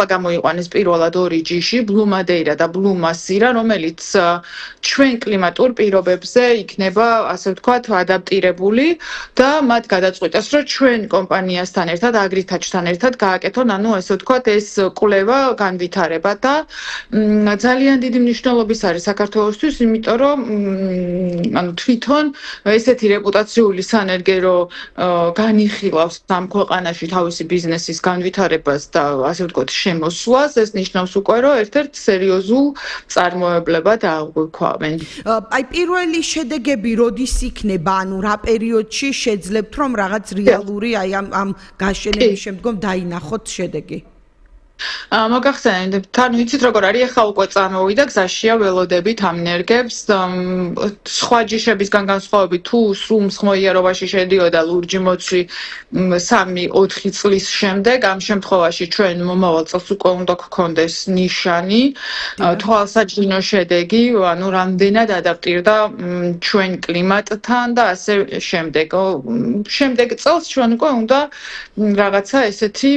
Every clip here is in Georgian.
გამოიყვანეს პირველად ორი ჯიში, Blue Madeira და Blue Masira, რომელიც ჩვენ კლიმატურ პირობებზე იქნება, ასე ვთქვათ, ადაპტირებული და მათ გადაწყვიტეს, რომ ჩვენ კომპანიასთან ერთად, Agritouch-თან ერთად გააკეთონ, ესე ვთქვათ, ეს კვლევა განვითარება და ძალიან დიდი მნიშვნელობის არის საქართველოსთვის, იმიტომ რომ თვითონ ესეთი რეპუტაციული სანერგერო განიხილავს ამ ქვეყანაში თავისი ბიზნესის განვითარებას და ასე ვთქვათ, შემოსვლას, ეს ნიშნავს უკვე, რომ ერთ-ერთ სერიოზულ წარმოებლებად აღვიქვამენ. Აი პირველი შედეგები როდის იქნება, ანუ რა პერიოდში შეძლებთ რომ რაღაც რეალური აი ამ გაშენების შემდგომ დაინახოთ შედეგი? მოგახსენებთ, თან ვიცით როგორ არის, ახლა უკვე წარმოვიდა გზაშია ველოდებით ამ ნერგებს, სხვა ჯიშებისგან განსხვავებით თუ სრულ მსხმოიარობაში შედიოდა ლურჯი მოცვი 3-4 წლის შემდეგ, ამ შემთხვევაში ჩვენ მომავალ წელს უკვე უნდა გქონდეს ნიშანი, თვალსაჩინო შედეგი, ანუ რამდენად ადაპტირდა ჩვენ კლიმატთან და ასე შემდეგ. შემდეგ წელს ჩვენ უკვე უნდა რაღაცა ესეთი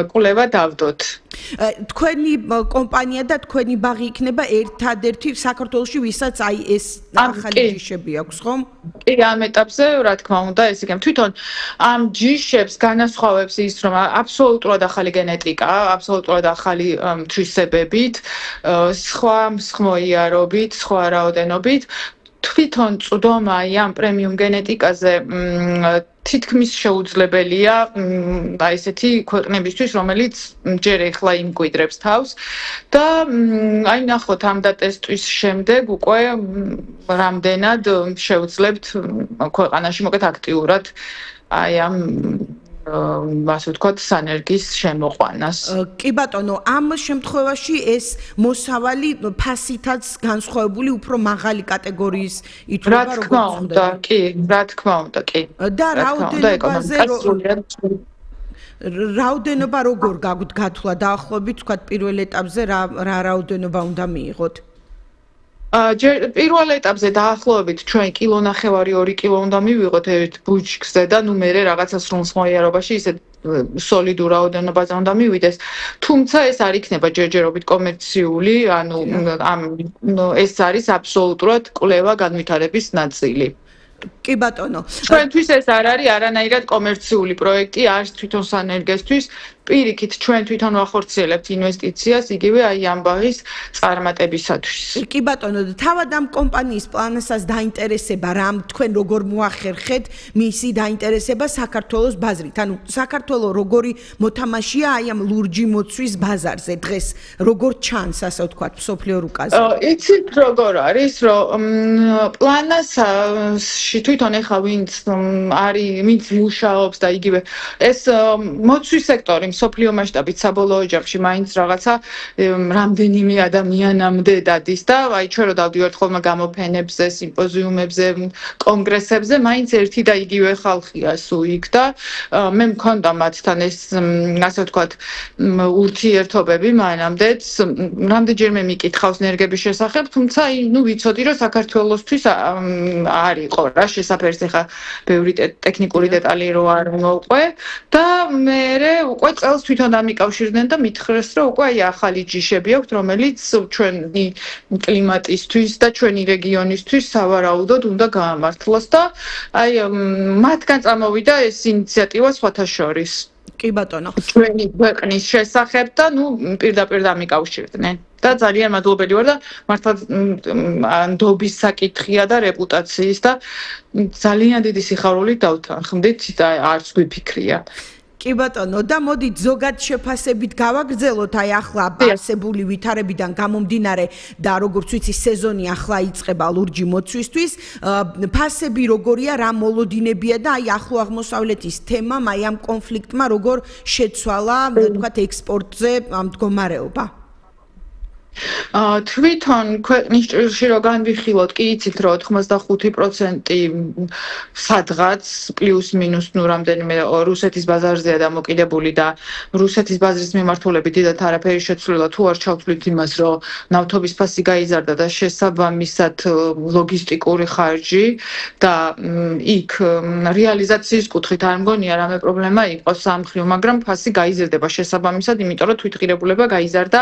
კვლევა თქვენი კომპანია და თქვენი ბაღი იქნება ერთადერთი საქართველოში, ვისაც აი ეს ახალი ჯიშები აქვს, ხომ? კი, ამ ეტაპზე, რა თქმა უნდა, ეს იქნება. თვითონ ამ ჯიშებს განასხვავებს ის, რომ აბსოლუტურად ახალი გენეტიკა, აბსოლუტურად ახალი თვისებებით, სხვა მსხმოიარობით, სხვა რაოდენობით. თვითონ წვდომა ამ პრემიუმ გენეტიკაზე თითქმის შეუძლებელია აი ესეთი ქვეყნებისთვის, რომელიც ჯერ ეხლა იმკვიდრებს თავს და აი ნახოთ ამ დატესტვის შემდეგ უკვე რამდენად შევძლებთ ქვეყანაში მოკეთ აქტიურად აი ამ ასე ვთქვათ, სანერგის შემოყვანას. კი ბატონო, ამ შემთხვევაში ეს მოსავალი ფასითაც განსხვავებული უფრო მაღალი კატეგორიის ითვლება როგორც უნდა. რა თქმა უნდა, კი, რა თქმა უნდა, კი. და რაოდენობა როგორ გაგვთ გათვლა დაახლოებით, ვთქვათ, პირველ ეტაპზე რა რაოდენობა უნდა მიიღოთ? პირველ ეტაპზე დაახლოებით ჩვენ 1.5 კილო უნდა მივიღოთ ერთ ბუჩქზე და ნუ მერე რაღაცა სრულ მსხმოიარობაში ისე სოლიდურ რაოდენობაზე უნდა მივიდეს. თუმცა ეს არ იქნება ჯერჯერობით კომერციული, ანუ ეს არის აბსოლუტურად კვლევა განვითარების ნაწილი. კი ბატონო. ჩვენთვის ეს არ არის არანაირად კომერციული პროექტი, არც თვითონ სანერგესთვის. პირიქით ჩვენ თვითონ ვახორციელებთ ინვესტიციას იგივე აი ამ ბაღის წარმატებისათვის. კი ბატონო, თავად ამ კომპანიის პლანასაც დაინტერესება რამ თქვენ როგორ მოახერხეთ მისი დაინტერესება საქართველოს ბაზრით. ანუ საქართველოს როგორი მოთამაშეა აი ამ ლურჯი მოცვის ბაზარზე დღეს, როგორ ჩანს ასე ვთქვათ, მსოფლიო რუკაზე? იცით როგორ არის, რომ პლანასში თვითონ ეხლა ვინც მუშაობს და იგივე ეს მოცვის სექტორი მსოფლიო მასშტაბით საბოლოო ჯამში მაინც რაღაცა რამდენიმე ადამიანამდე დადის და აი ჩვენ რო დავდივართ ხოლმე გამოფენებზე, სიმპოზიუმებზე, კონგრესებზე, მაინც ერთი და იგივე ხალხია სუიქ და მე მქონდა მათთან ეს ასე ვთქვათ ურთიერთობები მანამდეც, რამდენჯერმე მიკითხავს ნერგების შესახებ, თუმცა ნუ ვიცოდი რომ საქართველოსთვის არ იყო რა შესაძერს ახლა ბევრი ტექნიკური დეტალი რო არ მოყვე და მე უკვე წელს თვითონ დამიკავშირდნენ და მითხრეს რომ უკვე აი ახალი ჯიშები აქვთ რომელიც ჩვენი კლიმატისთვის და ჩვენი რეგიონისთვის სავარაუდოდ უნდა გაამართლოს და აი მათგან წამოვიდა ეს ინიციატივა სხვათა შორის. კი ბატონო. ჩვენი ქვეყნის შესახებ და ნუ პირდაპირ დამიკავშირდნენ. და ძალიან მადლობელი ვარ და მართლა ნდობის საკითხია და რეპუტაციის და ძალიან დიდი სიხარულით დავთანხმდით და არც გვიფიქრია. კი ბატონო, და მოდით ზოგად შეფასებით გავაგრძელოთ აი ახლა არსებული ვითარებიდან გამომდინარე და როგორც ვიცი სეზონი ახლა იწყება ლურჯი მოცვისთვის, ფასები როგორია, რა მოლოდინებია და აი ახლო აღმოსავლეთის თემამ აი ამ კონფლიქტმა როგორ შეცვალა, თქვათ, ექსპორტზე ამ მდგომარეობა? თვითონ ქვეყნის ჭრილში რო განვიხილოთ, კი იცით რომ 85% სადღაც პლუს მინუს ნუ რამდენიმე რუსეთის ბაზარზეა დამოკიდებული და რუსეთის ბაზრის მიმართულებით დიდად არაფერი შეცვლილა თუ არ ჩავთვლით იმას რომ ნავთობის ფასი გაიზარდა და შესაბამისად ლოგისტიკური ხარჯი და იქ რეალიზაციის კუთხით არ მგონია რამე პრობლემა იყოს ამ მხრივ, მაგრამ ფასი გაიზარდება შესაბამისად, იმიტომ რომ თვითღირებულება გაიზარდა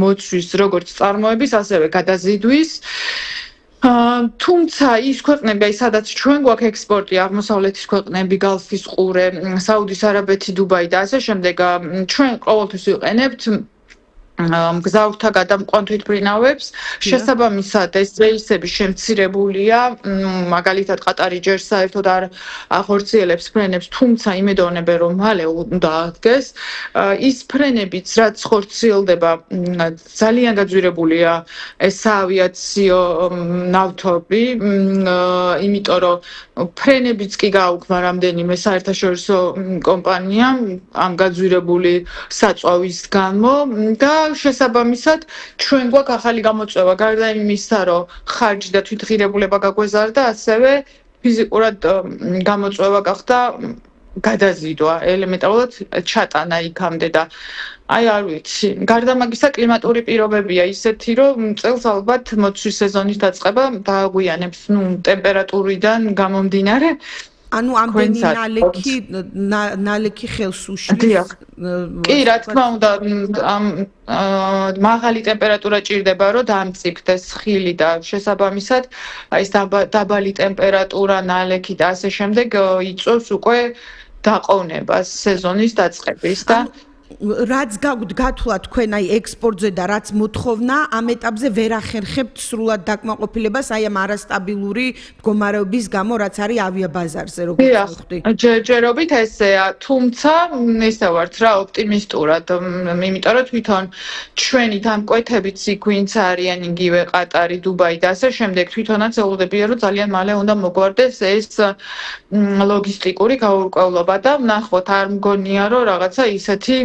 მოცვის როგორც წარმოების, ასევე გადაზიდვის. თუმცა ის ქვეყნები, სადაც ჩვენ გვაქვს ექსპორტი, აღმოსავლეთის ქვეყნები, გალფის ყურე, საუდის არაბეთი, დუბაი და ასე შემდეგ, ჩვენ ყოველთვის ვიყენებთ მგზავრთა გადამყვან თვითმფრინავებს, შესაბამისად ეს რეისები შემცირებულია, მაგალითად ყატარი ჯერ საერთოდ არ ახორციელებს ფრენებს, თუმცა იმედოვნებენ რომ მალე უნდა ადგეს. ის ფრენებიც რაც ხორციელდება, ძალიან გაძვირებულია ეს საავიაციო ნავთობი, იმიტომ რომ ფრენებიც კი გააუქმა რამდენიმე საერთაშორისო კომპანიამ ამ გაძვირებული საწვავის გამო და შესაბამისად ჩვენ გვაქვს ახალი გამოწვევა გარდა იმისა რომ ხარჯი და თვითღირებულება გაგვეზარდა ასევე ფიზიკურად გამოწვევა გახდა გადაზიდვა ელემენტარულად ჩატანა იქამდე და აი არ ვიცი გარდა მაგისა კლიმატური პირობებია ისეთი რომ წელს ალბათ მოცვის სეზონის დაწყება დააგვიანებს ტემპერატურიდან გამომდინარე ანუ ამდენი ნალექი ხელს უშლის. კი, რა თქმა უნდა, მაღალი ტემპერატურა ჭირდება, რომ დამწიფდეს ხილი და შესაბამისად, ეს დაბალი ტემპერატურა, ნალექი და ასე შემდეგ იწვევს უკვე დაყოვნებას სეზონის დაწყების და რაც გათვლა თქვენ აი ექსპორტზე და რაც მოთხოვნა ამ ეტაპზე ვერ ახერხებთ სრულად დაკმაყოფილებას აი ამ არასტაბილური მდგომარეობის გამო რაც არის ავიაბაზარზე როგორც ვხვდი. ჯერჯერობით ესეა, თუმცა ისე ვართ რა ოპტიმისტურად, იმიტომ რომ თვითონ ჩვენი დამკვეთებიც იქ ვინც არიან იგივე ყატარი, დუბაი და ასე შემდეგ თვითონაც ელოდებიან რომ ძალიან მალე უნდა მოგვარდეს ეს ლოგისტიკური გაურკვევლობა და ვნახოთ არ მგონია რომ რაღაცა ისეთი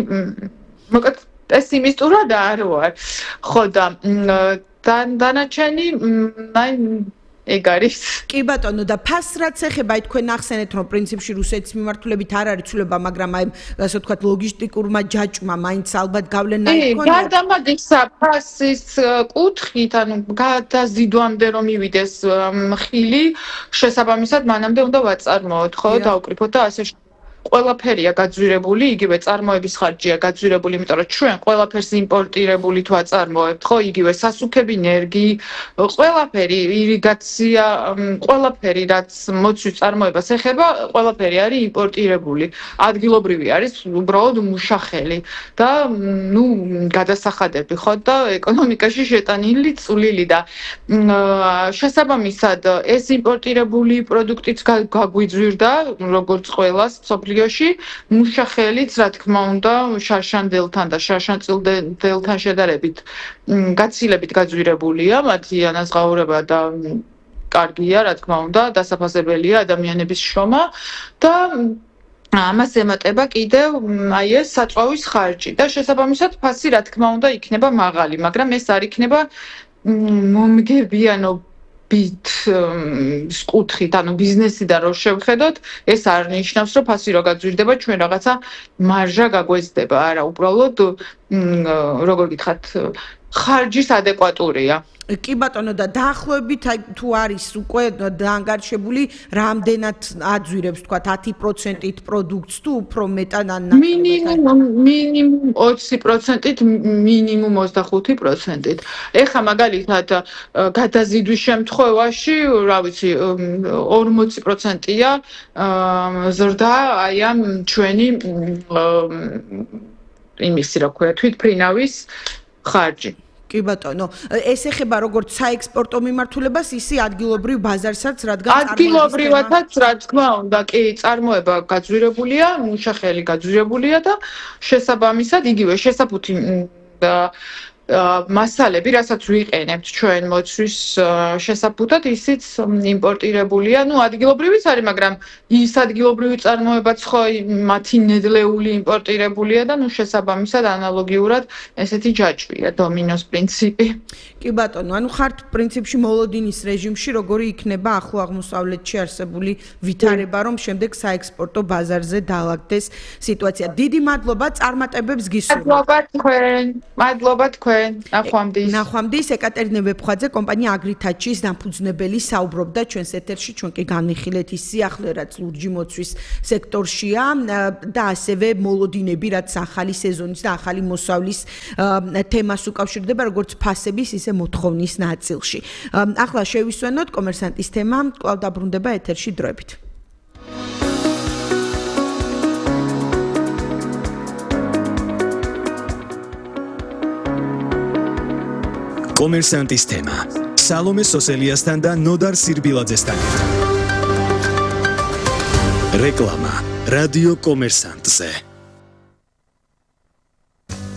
მოკლედ პესიმისტურად არ ვარ. ხო და დანარჩენი აი ეგ არის. კი ბატონო და ფასს რაც ეხება აი თქვენ ახსენეთ რომ პრინციპში რუსეთის მიმართულებით არ არის ცვლილება, მაგრამ აი ასე ვთქვათ ლოგისტიკურმა ჯაჭვმა მაინც ალბათ გავლენა იქონია. გარდა მაგისა ფასის კუთხით, ანუ გადაზიდვამდე რომ მივიდეს ხილი, შესაბამისად მანამდე უნდა ვაწარმოოთ, ხო, დავკრიფოთ და ასე ყველაფერია გაძვირებული, იგივე წარმოების ხარჯია გაძვირებული, იმიტომ რომ ჩვენ ყველაფერს იმპორტირებულით ვაწარმოებთ, ხო, იგივე სასუქები, ენერგი, ყველაფერი, ირიგაცია, ყველაფერი, რაც მოცვის წარმოებას ეხება, ყველაფერი არის იმპორტირებული. ადგილობრივი არის უბრალოდ მუშახელი და ნუ გადასახადები, ხო, და ეკონომიკაში შეტანილი წვლილი და შესაბამისად ეს იმპორტირებული პროდუქტიც გაგვიძვირდა, როგორც ყველას მუშახელიც, რა თქმა უნდა, შარშანდელთან და შარშანწილდელთან შედარებით გაცილებით გაძვირებულია, მათი ანაზღაურება და კარგია, რა თქმა უნდა, დასაფასებელია ადამიანების შრომა და ამას ემატება კიდევ აი ეს საწვავის ხარჯი და შესაბამისად ფასი, რა თქმა უნდა, იქნება მაღალი, მაგრამ ეს არ იქნება მომგებიანო კუთხით, ანუ ბიზნესიდან რო შევხედოთ, ეს არ ნიშნავს, რომ ფასი რო გაძვირდება, ჩვენ რაღაცა მარჟა გაგვეცდება, არა, უბრალოდ როგორ გითხრათ, ხარჯის ადეკვატურია. კი ბატონო და დაახლოებით თუ არის უკვე დაანგარიშებული რამდენად აძვირებს თქვა 10%-ით პროდუქტს თუ უფრო მეტად მინიმუმ 20%-ით მინიმუმ 25%-ით. ეხლა მაგალითად გადაზიდვის შემთხვევაში, რა ვიცი, 40%-ია ზრდა აი ამ ჩვენი იმისი რა ქვია, თვითმფრინავის ხარჯი. კი ბატონო, ეს ეხება როგორც საექსპორტო მიმართულებას, ისე ადგილობრივ ბაზარსაც, რადგან ადგილობრივათაც, რა თქმა უნდა, კი, წარმოება გაძვირებულია, მუშახელი გაძვირებულია და შესაბამისად იგივე შესაფუთი მასალები, რასაც ვიყენებთ ჩვენ მოცვის შესაბუთად, ისიც იმპორტირებულია. ადგილობრივიც არის, მაგრამ ის ადგილობრივი წარმოებაც ხო მათი ნედლეული იმპორტირებულია და შესაბამისად ანალოგიურად ესეთი ჯაჭვია დომინოს პრინციპი. კი ბატონო, ხართ პრინციპში მოლოდინის რეჟიმში, როგორი იქნება ახლო აღმოსავლეთში არსებული ვითარება, რომ შემდეგ საექსპორტო ბაზარზე დაალაგდეს სიტუაცია. დიდი მადლობა, წარმატებებს გისურვებთ. მადლობა თქვენ. ნახვამდის ეკატერინე ვეფხვაძე, კომპანია აგრითაჩის დამფუძნებელი საუბრობდა ჩვენს ეთერში, ჩვენ კი განვიხილეთ ის სიახლე, რაც ლურჯი მოცვის სექტორშია და ასევე მოლოდინები, რაც ახალი სეზონის და ახალი მოსავლის თემას უკავშირდება, როგორც ფასების, ისე მოთხოვნის ნაწილში. ახლა შევისვენოთ კომერსანტის თემა, კვლავ დაბრუნდება ეთერში დროებით. კომერსანტის თემა. სალომე სოსელიასთან და ნოდარ სირბილაძესთან. რეკლამა რადიო კომერსანტზე.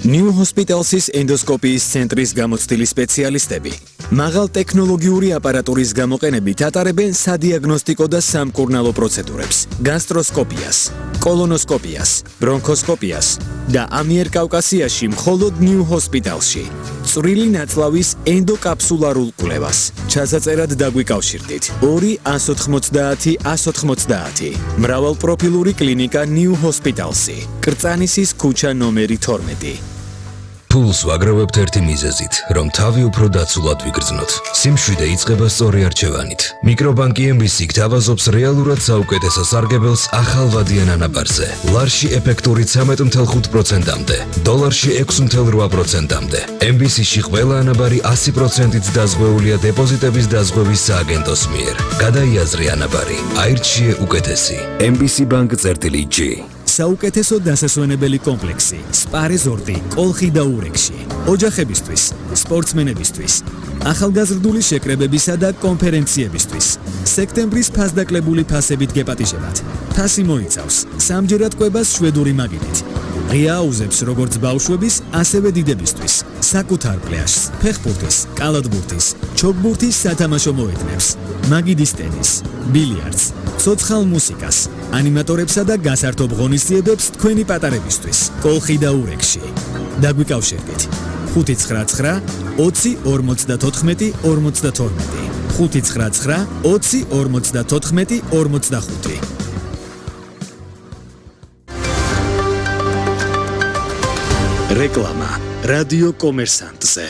New Hospitals's ენდოსკოპიის ცენტრის გამოცდილი სპეციალისტები მაღალ ტექნოლოგიური აპარატურის გამოყენებით ატარებენ სადიაგნოსტიკო და სამკურნალო პროცედურებს: გასტროსკოპიას, კოლონოსკოპიას, ბრონქოსკოპიას და ამიერკავკასიაში მხოლოდ New Hospitalsში. წვრილი ნაწლავის ენდოკაფსულარულ კვლევას. ჩასაწერად დაგვიკავშირდით 2 190 190. მრავალპროფილური კლინიკა New Hospitalsი. კრწანისის ქუჩა ნომერი 12. ფულს ვაგროვებთ ერთი მიზეზით, რომ თავი უფრო დაცულად ვიგრძნოთ. სიმშვიდე იწყება სწორი არჩევანით. მიკრობანკი MBC გთავაზობს რეალურად საუკეთესო სარგებელს ახალვადიან ანაბარზე. ლარში ეფექტური 13.5%-მდე, დოლარში 6.8%-მდე. MBC-ში ყველა ანაბარი 100%-ით დაზღვეულია დეპოზიტების დაზღვევის სააგენტოს მიერ. გადაიაზრე ანაბარი. აირჩიე უკეთესი. MBC Bank-G. საუკეთესო დასასვენებელი კომპლექსი სპა რეზორტი კოლხი და ურეკში. ოჯახებისთვის, სპორტსმენებისთვის, ახალგაზრდული შეკრებებისა და კონფერენციებისთვის. სექტემბრის ფასდაკლებული ფასებით გეპატიჟებათ. ფასი მოიცავს სამჯერად კვებას შვედური მაგიდით. ღია აუზებს როგორც ბავშვების, ასევე დიდებისთვის. საკუთარ პლაჟს, ფეხბურთის, კალათბურთის, ჩოგბურთის სათამაშო მოედნებს, მაგიდის ტენის, ბილიარდს, ცოცხალ მუსიკას, ანიმატორებსა და გასართობ ღონისძიებებს თქვენი პატარებისთვის. კოლხი და ურეკში. დაგვიკავშირდით 599 20 54 52 599 20 54 45. რეკლამა რადიო კომერსანტზე.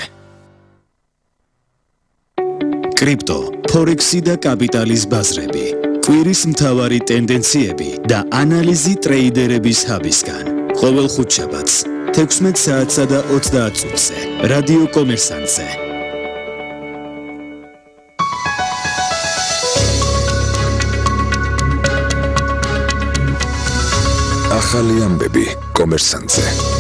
კრიპტო, ფორექსი და კაპიტალის ბაზრები. კვირის მთავარი ტენდენციები და ანალიზი ტრეიდერების ჰაბისგან. ყოველ ხუთშაბათს 16 საათსა და 30 წუთზე. რადიო კომერსანტზე. ახალი ამბები კომერსანტზე.